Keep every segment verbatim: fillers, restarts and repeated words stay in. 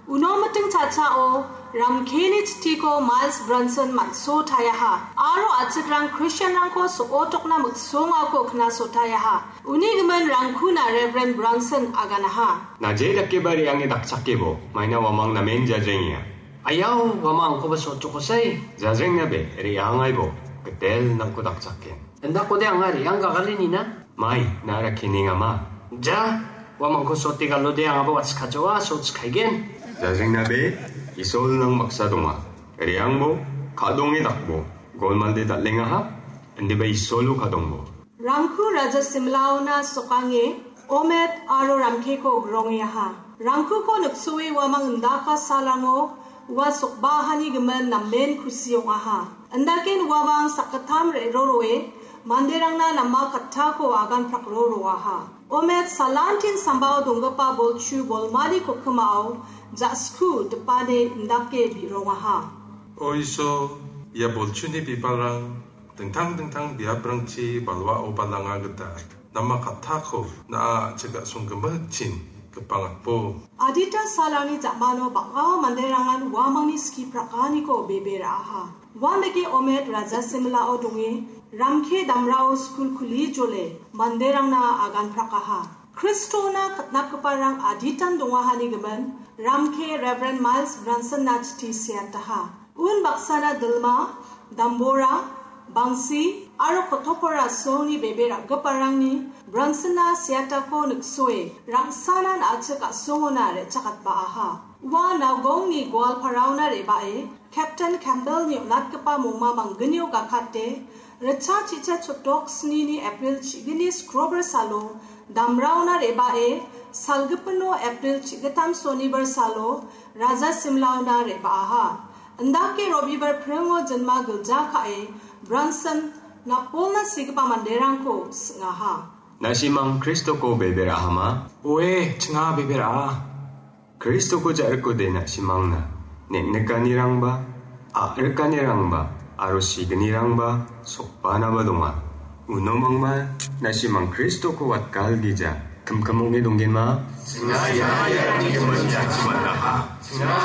Uno miting cha·chao Ramkeni chitiko Miles Bronson man·sotayaha aro a·chikrang Christianrangko so·otokna miksongako knasotayaha. Uni gimin Rangkuna Reverend Bronson aganaha. Naje dakeba re·ange dakchakebo, maina uamang namen jajrengenga. Ayau, uamang angkoba so·otokosai. Jajrengnabe, re·angaibo, gitel nangko dakchaken. Indakode anga re·ang gagalenina? Mai, na·a rakenengama. Ja, uamangko so·ote galode angaba watskajoa, so·otskaigen. Jajrengnabe, Isol nang baksa donga. Re·angbo, ka·donge dakbo, golmalde dal·engaha, indiba Isolo ka·dongbo. Rangku Raja Simlaona sokange Omet aro Ramkeko grongeaha. Rangkuko niksoe uamang indaka salango ua sokbahani gimin namen kusi ong·aha. Indaken uamang sakgittam re·roroe manderangna nama kattako aganprakro roaha. Omet salantin sambao donggipa bolchu bolmani kokimao ja·sku dipane indake bi·rongaha. O Iso, ia bolchuni bibalrang dingtang dingtang biaprangchi balwao balanga gita nama kattako na·a a·chik a·songgimikchin gipangakbo. Adita salani ja·mano bang·a manderangan uamangni ski prakaniko bebe ra·aha. Uandake Omet Raja Simlao donge, Ramke damrao skul kuli jole manderangna agan prakaha. Kristona katnapgiparang aditan dongahani gimin, Ramke Reverend Miles Bronsonna chiti seataha. Un baksana Dilma, Dambora, Bangsi, aro Kotopora songni bebe ra·giparangni Bronsonna seatako niksoe, rangsanan a·chik a·songona re·chakatba·aha. Ua Nagaongni Goalparaona re·bae, Captain Campbellni on·atgipa mongma manggnio gakate, ritcha chicha chotok snini April chigni skrobar salo, damraona re·bae, salgipino April chigittam sonibar salo, Raja Simlaona re·baaha. Indake Robibar pringo jinma gilja ka·e, Bronson napolna sigipa manderangko sing·aha. Na·simang Kristoko bebe ra·ahama? Oe, chinga bebe ra·a. Kristoko ja·rikode na·simangna neng·nikanirangba, a·rikanirangba, aro signirangba sokbanaba donga. Uno mangma na·simang Kristoko watgalgija. Kimkim ong·e donggenma? Singa ia iarangni gimin jatchi man·aha. Singa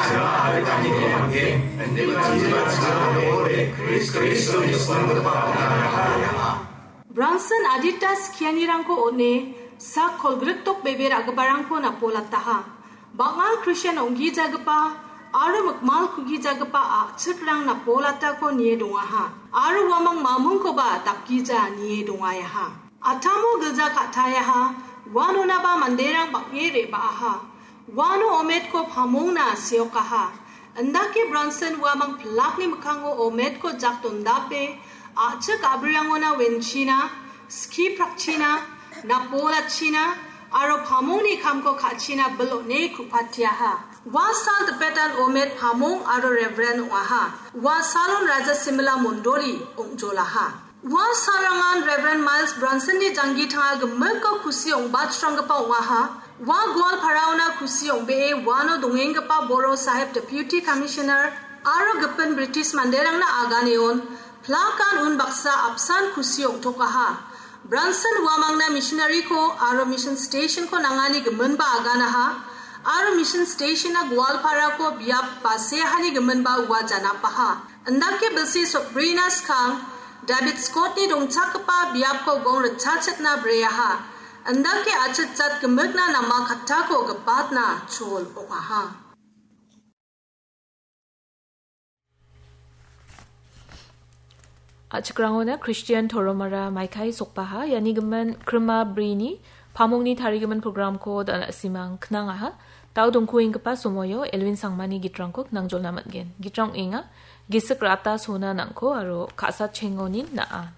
a·rikani ong·gen. Indiba indiba singa ong·e Krist-, Kristoni sinanggipa ong·aha. Bronson adita skianirangko on·e sak kolgrikdok bebe ra·giparangko napolataha. Bang·a Kristian ong·gijagipa aro mikmal kugijagipa a·chikrang napolatako nie dongaha, aro uamang mamungkoba dakgija nie dongayaha. Atamo gilja ka·tayaha, uanonaba manderang bang·e re·baaha. Uano Ometko pamongna seokaha. Indake Bronson uamang pilakni mikkango Ometko jak dondape, a·chik a·brirangona wenchina, ski prakchina, napolachina, aro pamongni kamko ka·china bil on·e ku·patiaha. Ua sal dipetan Omet pamong aro Reverend ong·aha. Ua salon Raja Simila Mondoli ong·jolaha. Ua salrangan Reverend Miles Bronsonni janggi tanga gimikko kusi ong·bachranggipa ong·aha. Ua Goalparaona kusi ong·bee uano dongenggipa Boro Sahib Deputy Commissioner aro gipin British manderangna aganeon plakan unbaksa apsan kusi ong·tokaha. Bronson uamangna missionary-ko aro mission station-ko nangani giminba aganaha, aro mission station-a Goalparako biap baseahani giminba ua janapaha. Indake bilsi sokbrina skang David Scott-ni dongchakgipa biapko gong ritchachitna breaha. Indake achitjat gimikna nama kattako gipatna chol ong·aha. A·chikrangona Christian toromara maikai sokbaha, iani gimin krima brini pamongni tarigimin programko da·na simang knangaha. Dao dongkuenggipa somoio Elwin Sangmani gitrangko knangjolna man·gen. Gitrang ong·enga, Gisik Rata Sona Nangko aro Ka·sa Chengonin Na·a.